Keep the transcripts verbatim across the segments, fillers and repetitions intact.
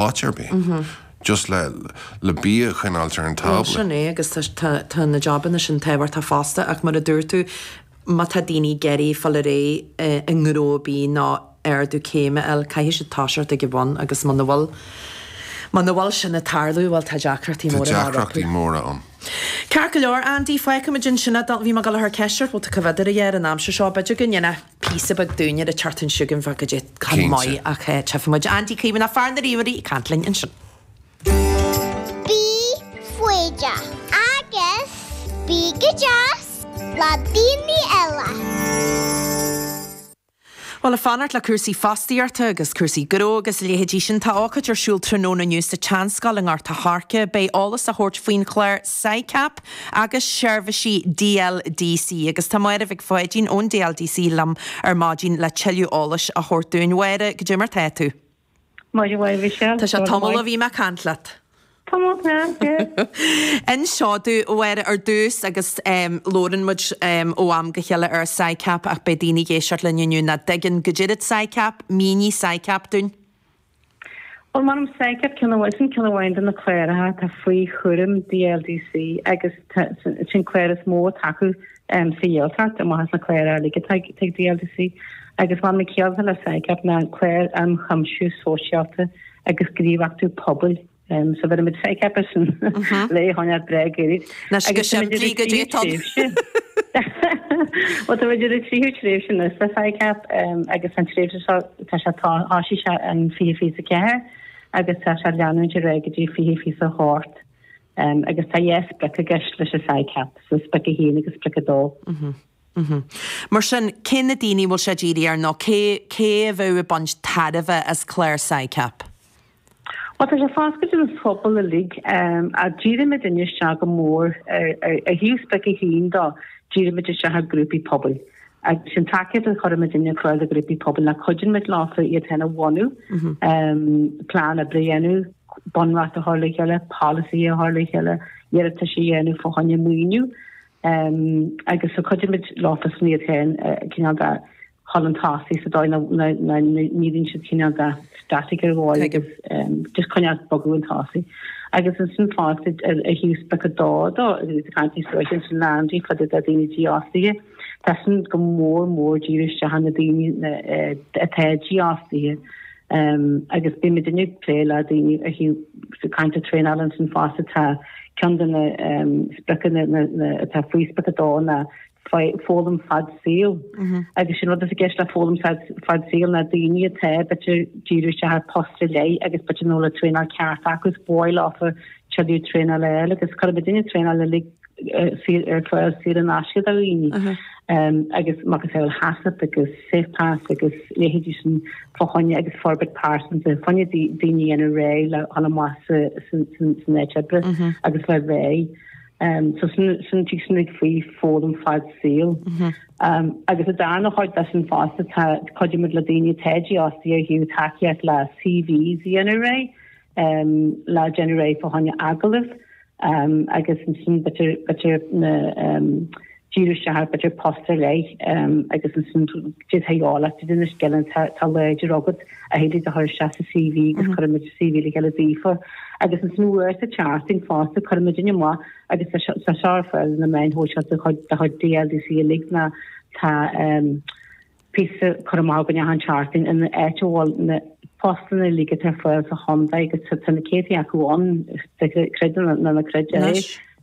áit ar bith. Just le le bia a choinneáil ar an tábla. Sin é agus tá na jabanna sin tábhachtach fosta ach mar a dúirt tú má tá daoine ag iarraidh fáil ar aghaidh i ngnó ar bith nó ardú céime a fháil caithfidh siad toiseacht ag an bhun agus muna bhfuil muna bhfuil sin ag tarlú bhuel tá deacrachtaí Tá móra deacrachtaí móra ann. Ceart go leor Andy fágfaimid ansin é bhí mé ag dul a chur ceist ort bhfuil tú comh ar an aimsir seo b'fhéidir go ndéanfá píosa beag dúinn ar an tseachtain seo chugainn bheith go dtí chun Cinnte. maith ach tchífimid Andy Caomhánach fear na ríomhairí ag caint linn ansin. Bí foighdeach agus bí go deas le daoine eile. Well ag fanacht le cúrsaí fostaíochta agus cúrsaí gnó agus leithéidí sin tá ócáid ar siúl tráthnóna inniu sa tSeanscoil i nGort a' Choirce, beidh eolas á thabhairt faoin chlár SICAP agus seirbhísí DLDC agus tá Máire Mhic Pháidín ón DLDC liom ar maidin le tuilleadh eolais a thabhairt dúinn Mháire goidé mar tá tú. Maidin mhaith Michelle. Tá sé tamall ó bhí mé ag caint leat. Inis dúinn a Mháire ar dtús agus um, labhrann muid um, ó am go chéile ar SICAP ach beidh daoine ag éisteacht linn inniu nach dtuigeann goidé SICAP, mínigh SICAP dúinn. Well mar SICAP ceann sin ceann amháin de na cláracha tá faoi chúram DLDC agus sin clár is mó acu um, sa Ghaeltacht amach na cláir eile ag DLDC agus mar na céalta le SICAP ná clár um chuimsiú sóisialta agus gníomhachtú pobail. Um, so bhí SICAP sin le háine bre Na go simplí go dé Well tá idir tríú tréimhse na sa SICAP agus an tréimhse tá sé thosaigh sé an fiche fiche ceathair agus tá sé leanúint ar aghaidh go dtí fiche fiche a hocht. Um, agus tá dhá sprioc i gceist leis an SICAP, so sprioc a haon agus sprioc a dó. Mm -hmm. Mar sin cé na daoine bhfuil sé dírithe air nó cé cé a bheadh ag baint tairbhe as clár SICAP? Well tá sé foscailte don phobal uilig um, a dírímid isteach go mór ar thaobh sprioc a haon dó dírímid isteach ar grúpaí pobail. Agus sin tacaíocht a chuirimid ar fáil do grúpaí pobail na cuidímid leofa iad féin a bhunú, um, plean oibre a dhéanamh, bunreacht a chur le chéile, policy a chur le chéile, iarratas a dhéanamh fá choinne maoiniú, um, agus so cuidímid leofa san iad féin uh, cineál de chun tosaí sa dóigh nach mbíonn siad cineál de static ar bháil agus just coinneáil bogadh chun tosaigh. Agus ansin fosta a thaobh sprioc a dó dó caint sin leanaí fad a daoine dífhostaithe. Tá sin go mór mór dírithe isteach na daoine atá dífhostaithe. Um, agus bímid ag plé le daoine a thaobh caint traenáil ansin fosta tá ceann de na um, spriocanna atá faoi sprioc a dó na foghlaim fad saoil. Agus sin rud is i gceist le foghlaim fad saoil na daoine atá b'fhéidir dírithe isteach ar post le agus b'fhéidir nach bhfuil traenáil ceart agus báil ofa tuilleadh traenáil eile agus chuir duine traenáil le ar fáil saor in aisce do dhaoine. Um, agus mar is HACCP agus Safe Pass agus leithéidí sin fá choinne agus forbairt pearsanta fá choinne daoine ina réidh le dul amach san áit oibre agus le réidh. Um, so sin sin tí sin faoi foghlaim fad saoil. Um, agus a darna chuid de sin fosta tá cuidímid le daoine atá dífhostaithe ó thaobh tacaíocht le CVs a dhéanamh réidh, um, le déanamh réidh fá choinne agallamh, um, agus sin b'fhéidir b'fhéidir na um, díriú isteach b'fhéidir post ar leith um, agus ansin dhéála na scileanna tá láidir agat a héidir a chur isteach sa CV agus cuirimid CV le chéile daofa agus ansin uair sa tseachtain fosta cuirimid amach agus tá sé ar fáil na meáin shóisialta de chuid DLDC uilig na tá um, píosa curtha amach againn achan tseachtain in áit a bhfuil na postanna uilig atá ar fáil sa chontae agus tá na céadta acu ann creid nó ná creid é.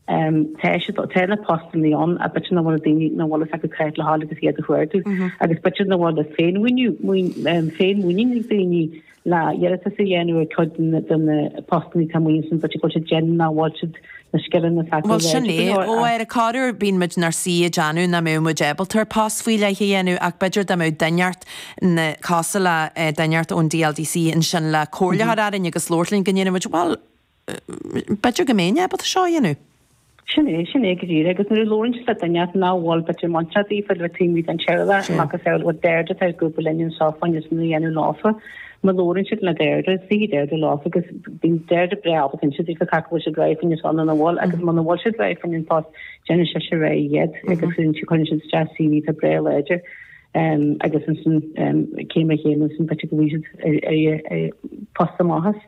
Um, tá tá na postanna ann a b'fhéidir nach bhfuil daoine nach bhfuil acu creid le háil agus iad a chuardach agus b'fhéidir nach bhfuil féinmhuinín féinmhuinín ag daoine le iarratas a dhéanamh ar chuid de na postanna tá muin sin b'fhéidir go bhfuil siad déanamh nach bhfuil siad na scileanna s'acu Well sin é ó ar a corruair bíonn muid inár suí ag déanamh nach mbeadh muid ábalta ar post faoi leith a dhéanamh ach b'fhéidir dá mbeadh duine inteacht na cosúil le duine inteacht ón DLDC ansin le comhairle a chur orainn agus labhairt linn go ndéanfaidh muid well b'fhéidir go mbeinn ábalta seo a dhéanamh. Sin é sin é go díreach agus nuair a labhrann le duine nach bhfuil b'fhéidir muintear daofa le taobh an tséala agus ar bhfuil Deirdre tá grúpa linn seo fá choinne san a dhéanamh leofa má labhrann siad le Deirdre sí Deirdre leofa agus bíonn Deirdre breá ábalta inse daofa cad bhfuil siad réidh fá choinne san ina bhfuil agus muna bhfuil siad réidh fá choinne an post déanann sé sé réidh iad agus cuireann siad isteach CV tá breá láidir. Um, agus ansin um, céim a chéim ansin b'fhéidir go bhfuil siad ar, ar, ar post amach.